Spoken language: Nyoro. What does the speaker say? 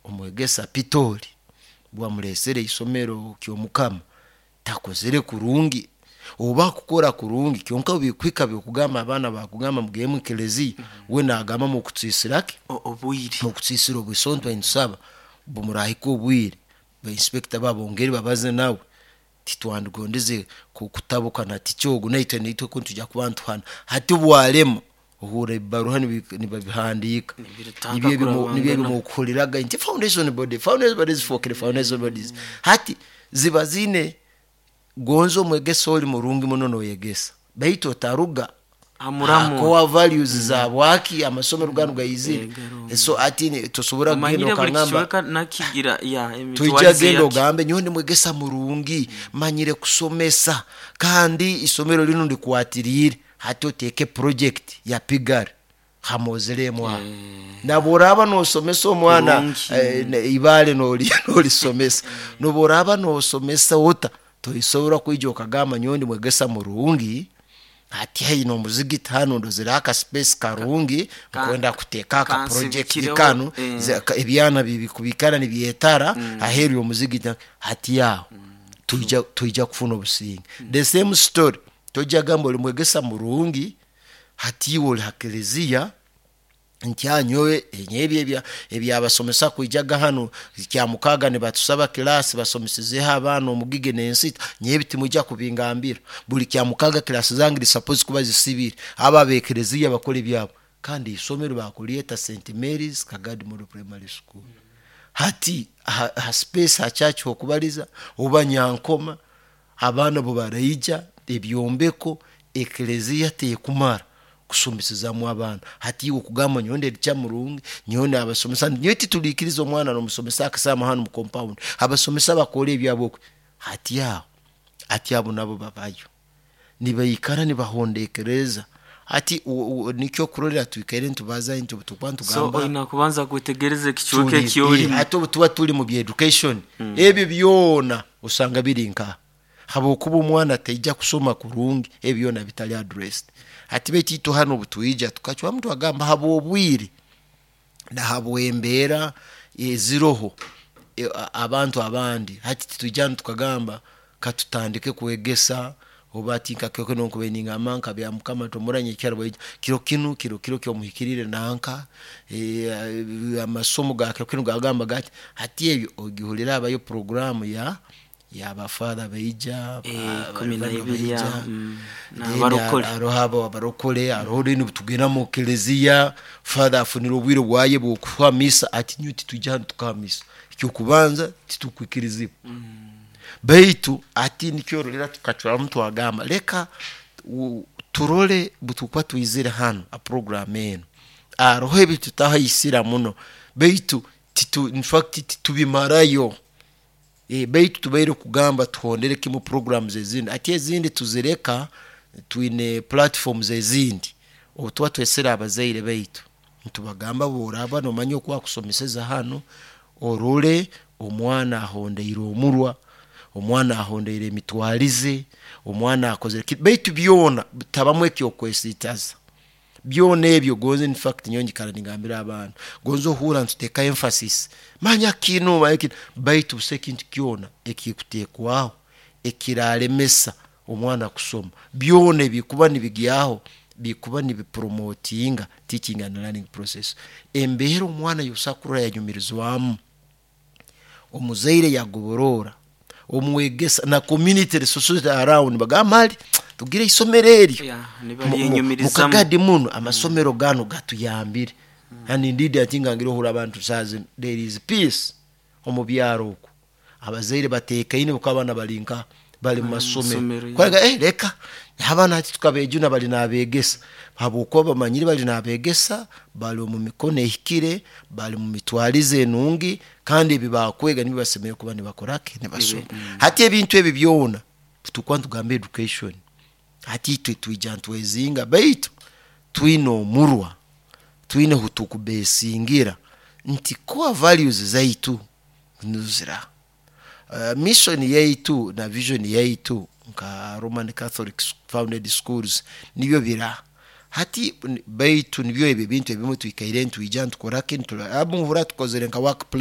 Omwegesa Pitoli bwamulesere isomero Kyomukama takozere kurungi oba kukora kurungi, kyonka bikuhika byokugamba abaana bakugamba mugende mu ekereziya, we nagamba mukutsisiraki obwire. Mukutsisira obwire. So ntwe nitusaba bumurahika obwire, ba inspector babongere babaze nawe. Titwandikugondeze kutabuka na ticha ogu, naitwe nitujya kuba nituhana. Hati bwalema, ohurra ebibaruha nibabihandika, Nibitandika nibyo kurabangana. Ebimukuhuriraga nti foundation body, foundation bodies zifokere foundation bodies. Hati ziba ziine gonza omwegesa oli murungi muno noyegesa, baitu otaruga Hamuramu. Core values zabwaki amasomero ganu gayizire. Garumu. So ati tosobora kugenda Omanyire buli okagamba kicweka nakigira ya tuija emitwarize genda yake. ogambe nyowe ndi mwegesa murungi, manyire kusomesa, kandi isomero linu ndikwatiriire. Hati oteeke project ya piggery hamozeremu aho, nabworaba nosomesa omwana Kurungi. Ibale nolisomesa, nobworaba nosomesa ota, tosobora kwija okagamba nyowe ndi mwegesa murungi, hati haine omuzigiti hanu ndozere aka space karungi, nkwenda kuteeka aka project Kansibikireho, kanu, ebyana bikubikara nibyetara aheeru yomuzigiti. Hati aho tuija kufuna obusinge. The same story, tojja gamba oli mwegesa murungi, hati iwe oli ha kereziya nti nyowe ebyo ebyabasomesa kwijaga hanu Kyamukaga nibatusaba kilasi basomesizeho abaana omugigi nensita, nyowe timwija kubingambira. Buli Kyamukaga kilasi zange zi supposed kuba zisibire, abo abekereziya bakole ebyabo. Kandi isomero bakulyeta St Mary's Kagadi Model Primary School. Hati ha space ha church hokubaliza oba Nyankoma, abaana bo baraija ebyombeko ekereziya tekumara kusomesezaamu abaana. Hati iwe okugamba nyowe ndi teacher murungi, nyowe nabasomesa, nyowe tituliikiriza omwana nomusomesa akasaamu hanu mu compound, abasomesa bakole ebyabo oku. Hati aho, hati abo nabo babayo nibaikara nibahondekereza. Hati nikyo okurorra twikaire nitubaza nti obutukuba So nitugamba oina kubanza kwetegereza ekicweka ekyolimu. Hati obu tuba tuli mu bya education, ebyo byona osanga biri nkaha, habwokuba omwana taija kusoma kurungi ebi byona bitali addressed. Hati baitu itwe hanu obutwija tukacwamu twagamba habwobwire na habwembeera eziroho, abantu abandi hati titwija hanu tukagamba katutandike kwegesa oba ati nka kiro kinu nkubaire ningamba nka Byamukama tomuranye nyekyara bwaija kiro kinu kiro kiro kyomuhikirire nanka, amasomo ga kiro kinu gagamba gati. Hati ebyo ogihurira habayo programu ya yabafather baija, Ikumi na ibiri baija, aho, then n'abarokole. Haroho abo abarokole, haroho then tugenda mu kereziya, father afunire obwire bwaye bwokuha misa. Ati nyowe titwija hanu tukaha misa, ekyokubanza titukwikirizibwa. Baitu ati nikyo orolera tukacwamu twagamba leka turole butukuba twizire hanu ha program enu, haroho ebitutahaisira muno, baitu infact titubimarayo. Baitu tubaire kugamba tuhondere kimu programs ezindi, ati ezindi tuzireka, twine platforms ezindi. Obutuba twesere abazaire baitu nitubagamba bworaba nomanya oku akusomeseza hanu, orole omwana ahondeire omurwa, omwana ahondeire emitwarize, omwana akozere ki, baitu byona tabamu ekyokwesitaza byona ebyo. Gonze infact nyowe nyikara ningambira abantu, gonze ohurra nituteekaho emphasis, manya kinu, manya kinu, baitu busaho ekintu kyona ekikutekwaho ekiralemesa omwana kusoma. Byona ebikuba nibigyaho bikuba nibipromotinga teaching and learning process. Embeera omwana yosobola kurora yanyumirizwamu, omuzaire yagoboroora, omwegesa na community, the society around bagamba mali tugire isomero eryo. Nibalyenyumirizamu. Mukagadi muno amasomero ganu gatuyambire. And indeed ati ngangire ohurra abantu saaha zinu there is peace omu byaro oku, abazaire batekaine habwokuba abaana bari nka bari mu masomero. Masomero, yeah. Kwega leka abaana hati tukabejuna bali nabegesa, habwokuba bamanyire bali nabegesa, bali omu mikono ehikire, bali mu mitwarize enungi, kandi ebi bakwega nibyo basemeriire kuba nibakoraki, nibasoma. Hati ebintu ebi byona tukuba nitugamba education, hati itwe twija ntwezinga, baitu twine omurwa, twine hutukubesingira nti core values zaitu nizira. Mission yaitu na vision yaitu nka Roman Catholic founded schools nibyo bira. Hati baitu nibyo ebi ebintu ebimu twikaire nitwija nitukoraki, muhurra tukozere nka work plan.